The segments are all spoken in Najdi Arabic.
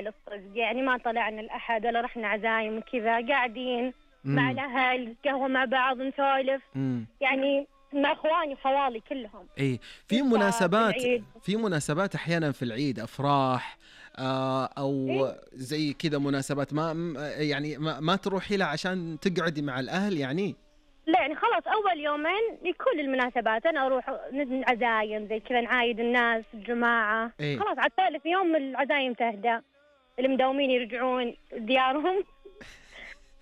حال الصدق، يعني ما طلعنا الأحد ولا رحنا عزايم وكذا، قاعدين مع الأهل قهوة مع بعض نسولف، يعني مع إخواني وخوالي كلهم. اي في مناسبات احيانا في العيد افراح او زي كذا مناسبات يعني ما تروحي لها عشان تقعدي مع الاهل يعني. لا يعني خلاص أول يومين لكل المناسبات أنا أروح عزايم زي كذا، نعايد الناس الجماعة. خلاص على ثالث يوم العزايم تهدى، المداومين يرجعون ديارهم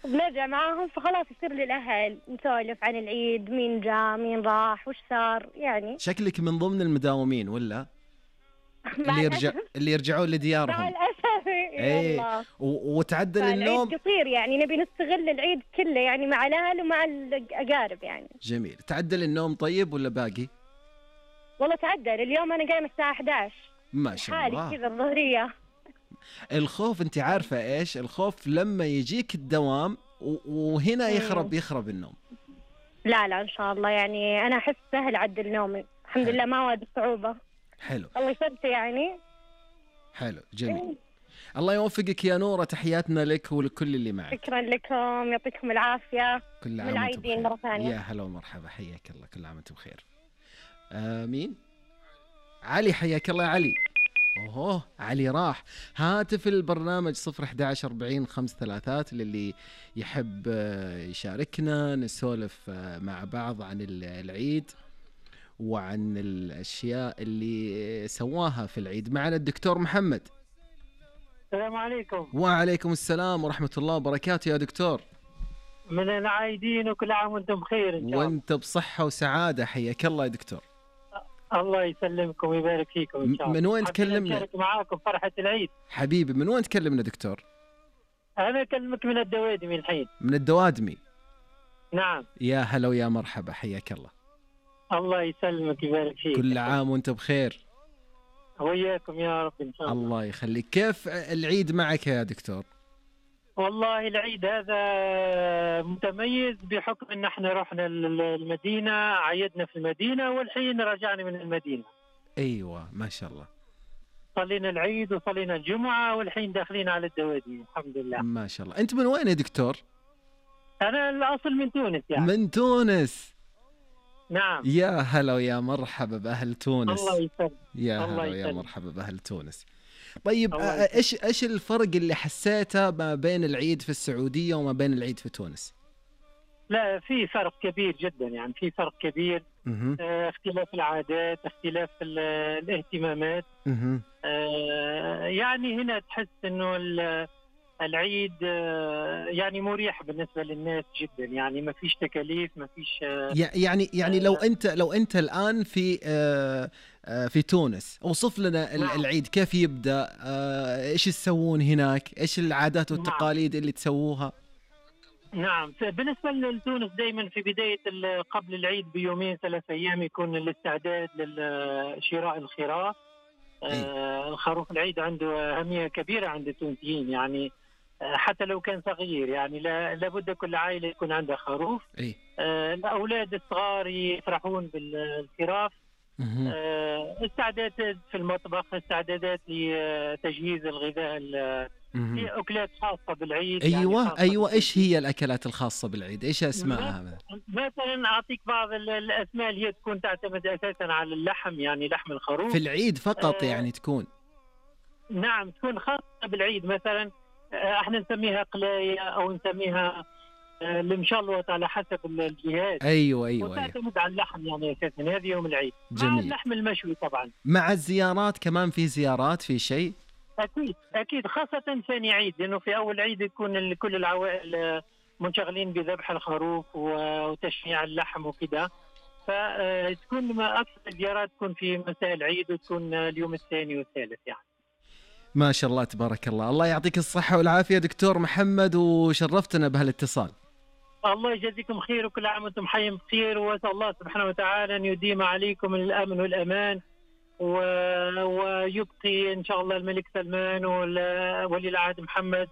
بنرجع معاهم، فخلاص يصير للأهل نسولف عن العيد، مين جاء مين راح وش صار. يعني شكلك من ضمن المداومين ولا اللي يرجعون لديارهم؟ مع الأسف والله. وتعدل النوم قصير، يعني نبي نستغل العيد كله يعني مع الأهل ومع الأقارب يعني. جميل. تعدل النوم طيب ولا باقي؟ والله تعدل، اليوم أنا قايمة الساعة 11 ما شاء الله. حالي كذا الظهرية. الخوف انت عارفة ايش الخوف لما يجيك الدوام وهنا يخرب النوم. لا ان شاء الله، يعني انا احس سهل عدل نومي الحمد لله، ما واجد صعوبة. حلو الله يسلمك يعني. حلو جميل. الله يوفقك يا نورة، تحياتنا لك ولكل اللي معك. شكرا لكم، يعطيكم العافية. كل عام وانتم بخير. مرة ثانية. يا هلا ومرحبا، حياك الله، كل عام وانتم بخير. مين؟ علي، حياك الله يا علي. اوه علي راح. هاتف البرنامج 0114053 للي يحب يشاركنا نسولف مع بعض عن العيد وعن الاشياء اللي سواها في العيد. معنا الدكتور محمد. السلام عليكم. وعليكم السلام ورحمة الله وبركاته يا دكتور. من العايدين وكل عام وانتم بخير ان شاء الله. وانت بصحة وسعادة، حياك الله يا دكتور. الله يسلمكم ويبارك فيكم ان شاء الله. من وين تكلمنا؟ أشارك معاكم فرحة العيد. حبيبي من وين تكلمنا دكتور؟ أنا أكلمك من الدوادمي الحين. من الدوادمي؟ نعم. يا هلا ويا مرحبا، حياك الله. الله يسلمك ويبارك فيك. كل عام وانت بخير. وياكم يا رب ان شاء الله. الله يخليك. كيف العيد معك يا دكتور؟ والله العيد هذا متميز بحكم ان احنا رحنا المدينة، عيدنا في المدينة والحين رجعنا من المدينة. ايوه ما شاء الله. صلينا العيد وصلينا الجمعة والحين داخلين على الدوادي الحمد لله. ما شاء الله. انت من وين يا دكتور؟ انا الاصل من تونس يعني. من تونس؟ نعم. يا هلا ويا مرحبا بأهل تونس. الله يسلمك. يا هلا ويا مرحبا بأهل تونس. طيب ايش الفرق اللي حسيته ما بين العيد في السعودية وما بين العيد في تونس؟ لا في فرق كبير جدا، يعني في فرق كبير. اختلاف العادات، اختلاف الاهتمامات. يعني هنا تحس انه العيد يعني مريح بالنسبة للناس جدا، يعني ما فيش تكاليف، ما فيش يعني لو انت الآن في تونس، اوصف لنا العيد كيف يبدأ، ايش تسوون هناك، ايش العادات والتقاليد اللي تسووها؟ نعم بالنسبة لتونس دائما في بداية قبل العيد بيومين 3 أيام يكون الاستعداد لشراء الخراف. الخروف العيد عنده أهمية كبيرة عند التونسيين، يعني حتى لو كان صغير، يعني لابد كل عائلة يكون عندها خروف. الأولاد الصغار يفرحون بالخراف. استعدادات في المطبخ، استعدادات لتجهيز الغذاء، في أكلات خاصة بالعيد. أيوة يعني أيوة. إيش هي الأكلات الخاصة بالعيد؟ إيش أسمائها؟ مثلا أعطيك بعض الأسماء اللي هي تكون تعتمد أساسا على اللحم، يعني لحم الخروف في العيد فقط. يعني تكون نعم تكون خاصة بالعيد. مثلا احنا نسميها قلاية أو نسميها المشلوط على حسب الجهات. أيوة وتعتمد على اللحم يعني أساسا. هذه يوم العيد. جميل. مع اللحم المشوي طبعا. مع الزيارات كمان، في زيارات في شيء؟ أكيد خاصة ثاني عيد، لأنه في أول عيد يكون كل العوائل منشغلين بذبح الخروف وتشميع اللحم وكذا، فتكون أكثر الزيارات تكون في مساء العيد وتكون اليوم الثاني والثالث يعني. ما شاء الله تبارك الله. الله يعطيك الصحة والعافية دكتور محمد، وشرفتنا بهالاتصال. الله يجزيكم خير وكل عام وانتم حيين بخير، وأسأل الله سبحانه وتعالى أن يديم عليكم الأمن والأمان، ويبقي إن شاء الله الملك سلمان ولي العهد محمد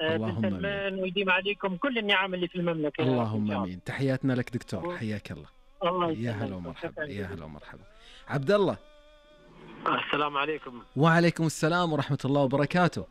بن سلمان، ويديم عليكم كل النعم اللي في المملكة. اللهم آمين. تحياتنا لك دكتور، حياك الله. الله يا هلا ومرحبا. يا هلا ومرحبا. عبد الله. السلام عليكم. وعليكم السلام ورحمة الله وبركاته.